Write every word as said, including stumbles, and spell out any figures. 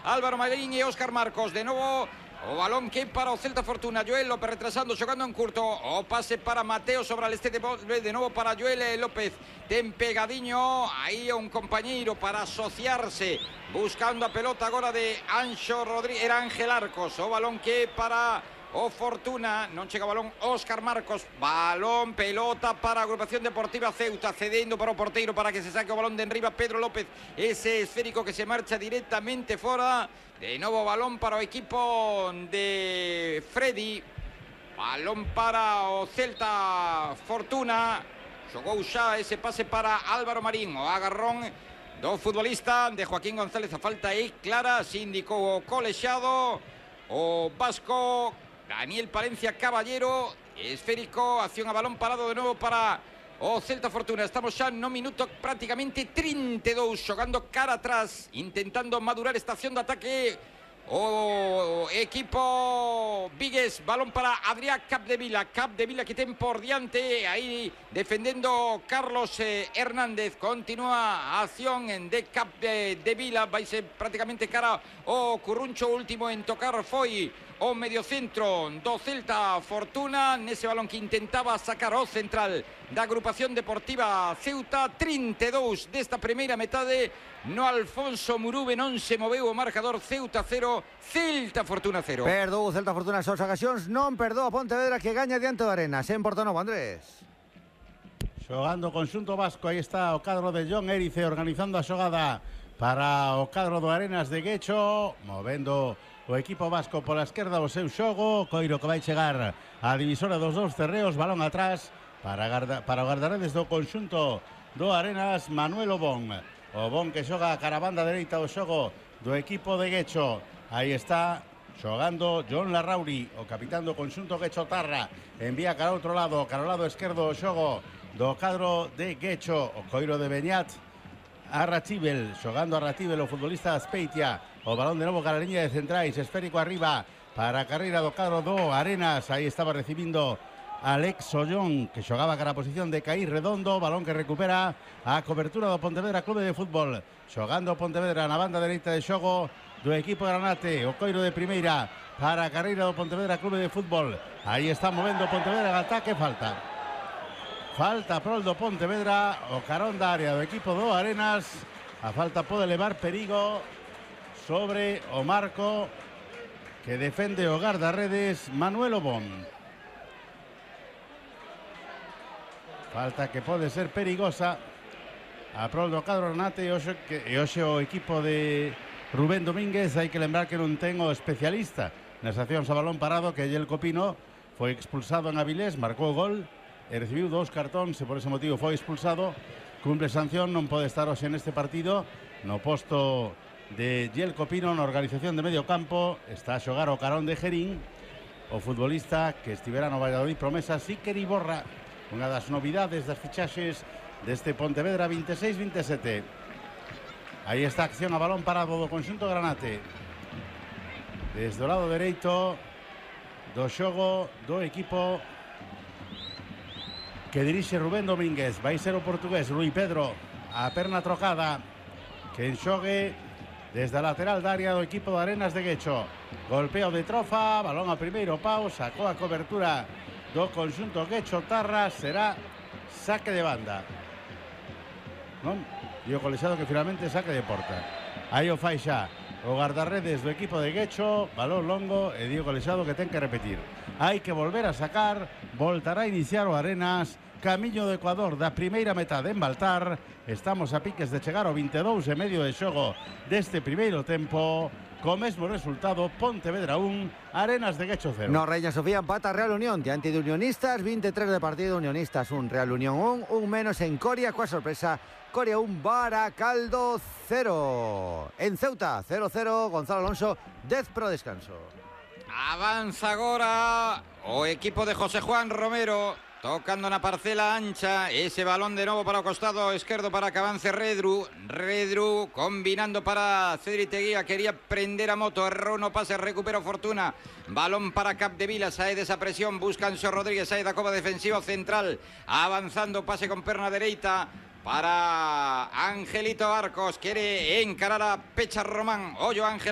Álvaro Marín y Óscar Marcos. De nuevo o balón que para o Celta Fortuna. Joel López retrasando, xogando en curto. O pase para Mateo sobre el este de, de nuevo para Joel López. Ten pegadiño aí un compañeiro para asociarse. Buscando a pelota agora de Anxo Rodríguez. Era Ángel Arcos. O balón que para o Fortuna. Non chega o balón Óscar Marcos. Balón, pelota para a Agrupación Deportiva Ceuta. Cedendo para o porteiro para que se saque o balón de enriba Pedro López. Ese esférico que se marcha directamente fora. De novo balón para o equipo de Freddy. Balón para o Celta Fortuna. Xogou xa ese pase para Álvaro Marín. O agarrón do futbolista de Joaquín González. A falta é clara. Se indicou o colexiado. O vasco Daniel Palencia Caballero. Esférico. Acción a balón parado de novo para o Celta Fortuna. Estamos xa no minuto prácticamente trinta e dous, xogando cara atrás, intentando madurar esta acción de ataque o equipo vigués. Balón para Adrián Capdevila. Capdevila que ten por diante aí defendendo Carlos eh, Hernández. Continúa a acción de Capdevila. Vai ser prácticamente cara o Curruncho. Último en tocar foi o mediocentro do Celta Fortuna. Nese balón que intentaba sacar o central da Agrupación Deportiva Ceuta. trinta e dous desta primeira metade. No Alfonso Murube non se moveu o marcador. Ceuta cero, Celta Fortuna cero. Perdou o Celta Fortuna as súas ocasións, non perdou a Pontevedra que gaña diante do Arenas. En Portonovo, Andrés. Xogando conxunto vasco, aí está o cadro de John Érice organizando a xogada para o cadro do Arenas de Guecho, movendo o equipo vasco pola esquerda o seu xogo. Coiro que vai chegar á divisora dos dous terreos, balón atrás para, garda, para o guardaredes do conxunto do Arenas, Manuel Obón. Obón que xoga a caravanda dereita o xogo do equipo de Guecho. Aí está xogando John Larrauri, o capitán do conxunto Guecho Tarra. Envía cara ao outro lado, cara ao lado esquerdo o xogo do cadro de Guecho. O coiro de Beñat a Ratibel, xogando a Ratibel o futbolista Azpeitia. O balón de novo cara a liña de centrais, esférico arriba para a carreira do cadro do Arenas. Aí estaba recibindo Alex Ollón, que xogaba cara a posición de Caí Redondo. Balón que recupera a cobertura do Pontevedra Clube de Fútbol. Xogando o Pontevedra na banda dereita de xogo do equipo Granate. O coiro de primeira para a carreira do Pontevedra Clube de Fútbol. Aí está movendo o Pontevedra en ataque. Falta. Falta prol do Pontevedra. O carón da área do equipo do Arenas. A falta pode levar perigo sobre o marco que defende o guardarredes Manuel Obón. Falta que pode ser perigosa a prol do cadro Granate. E hoxe, que, e hoxe o equipo de Rubén Domínguez, hai que lembrar que non ten o especialista nas accións a balón parado, que Yelko Pino foi expulsado en Avilés, marcou o gol e recibiu dous cartóns e por ese motivo foi expulsado. Cumple sanción, non pode estar hoxe neste partido. No posto de Yelko Pino na organización de medio campo está a xogar o carón de Gerín, o futbolista que estivera no Valladolid promesa Síquer Iborra, unha das novidades das fichaxes deste Pontevedra vinte e seis vinte e sete. Aí está a acción a balón parado do conxunto Granate. Desde o lado dereito do xogo do equipo que dirixe Rubén Domínguez. Vai ser o portugués Rui Pedro, a perna trocada, que enxogue desde a lateral da área do equipo de Arenas de Guecho. Golpeo de Trofa, balón a primeiro pau, sacou a cobertura do conxunto Guecho Tarra. Será saque de banda, non? E o colexiado que finalmente saque de porta. Aí o fai xa o guardarredes do equipo de Guecho. Balón longo e dio colexiado que ten que repetir. Hai que volver a sacar. Voltará a iniciar o Arenas. Camiño do Ecuador da primeira metade en Baltar. Estamos a piques de chegar ao vinte e dous e medio de xogo deste primeiro tempo. Co mesmo resultado, Pontevedra un, Arenas de Guecho cero. No Reina Sofía empata Real Unión diante de Unionistas, vinte e tres de partido, Unionistas un, Real Unión un, un menos en Coria, coa sorpresa, Coria un, Baracaldo cero. En Ceuta, cero cero, Gonzalo Alonso, dez pro descanso. Avanza agora o equipo de José Juan Romero, tocando na parcela ancha, ese balón de novo para o costado esquerdo para que avance Redru. Redru combinando para Cedric Teguía, quería prender a moto, errou no pase, recupera Fortuna. Balón para Capdevila, sae desa presión, busca Anxo Rodríguez, sae da cova defensiva central, avanzando, pase con perna dereita para Angelito Arcos, quiere encarar a Pecha Román. Ollo Ángel Arcos.